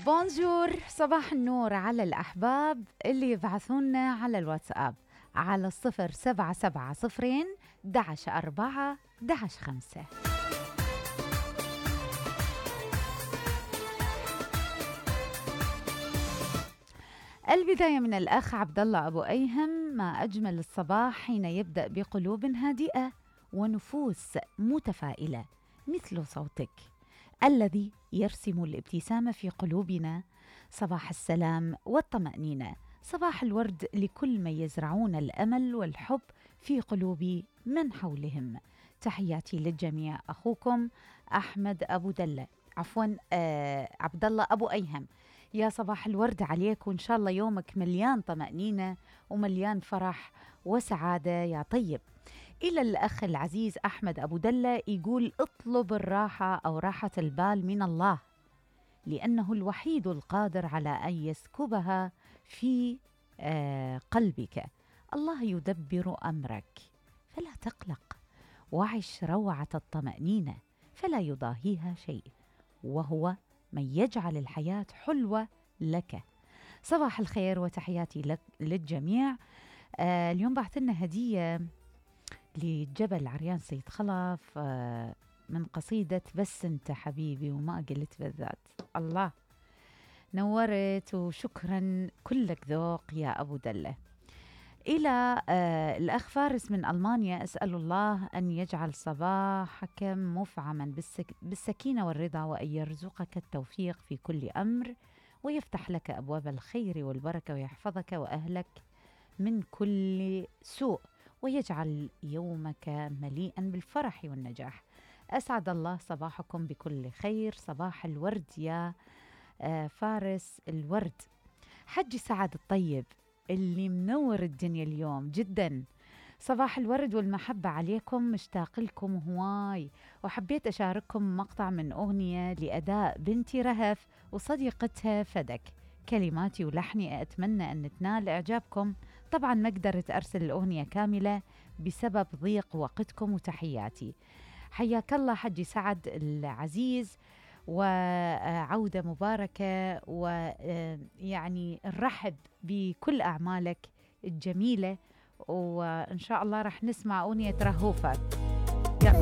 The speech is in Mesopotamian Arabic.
بونجور، صباح النور على الأحباب اللي يبعثونا على الواتساب على 0770 11 11 5. البداية من الأخ عبد الله أبو أيهم: ما أجمل الصباح حين يبدأ بقلوب هادئة ونفوس متفائلة مثل صوتك الذي يرسم الابتسامة في قلوبنا. صباح السلام والطمأنينة، صباح الورد لكل من يزرعون الأمل والحب في قلوب من حولهم. تحياتي للجميع، أخوكم أحمد أبو دلة، عبد الله أبو أيهم. يا صباح الورد عليك، وإن شاء الله يومك مليان طمأنينة ومليان فرح وسعادة يا طيب. إلى الأخ العزيز أحمد أبو دلة يقول: اطلب الراحة أو راحة البال من الله، لأنه الوحيد القادر على أن يسكبها في قلبك. الله يدبر أمرك فلا تقلق، وعش روعة الطمأنينة فلا يضاهيها شيء، وهو من يجعل الحياة حلوة لك. صباح الخير وتحياتي لك للجميع. اليوم بعثلنا هدية لجبل عريان سيد خلف من قصيدة بس انت حبيبي وما قلت بالذات. الله، نورت وشكرا، كلك ذوق يا أبو دلة. إلى الأخ فارس من ألمانيا: أسأل الله أن يجعل صباحك مفعما بالسكينة والرضا، وأن يرزقك التوفيق في كل أمر، ويفتح لك أبواب الخير والبركة، ويحفظك وأهلك من كل سوء، ويجعل يومك مليئا بالفرح والنجاح. أسعد الله صباحكم بكل خير. صباح الورد يا فارس الورد. حجي سعد الطيب اللي منور الدنيا اليوم جدا، صباح الورد والمحبة عليكم، مشتاق لكم هواي، وحبيت أشارككم مقطع من أغنية لأداء بنتي رهف وصديقتها فدك، كلماتي ولحني، أتمنى أن تنال إعجابكم. طبعا ما قدرت أرسل الأغنية كاملة بسبب ضيق وقتكم، وتحياتي. حياك الله حجي سعد العزيز، وعودة مباركة، ويعني الرحب بكل أعمالك الجميلة، وإن شاء الله رح نسمع أغنية رهوفة.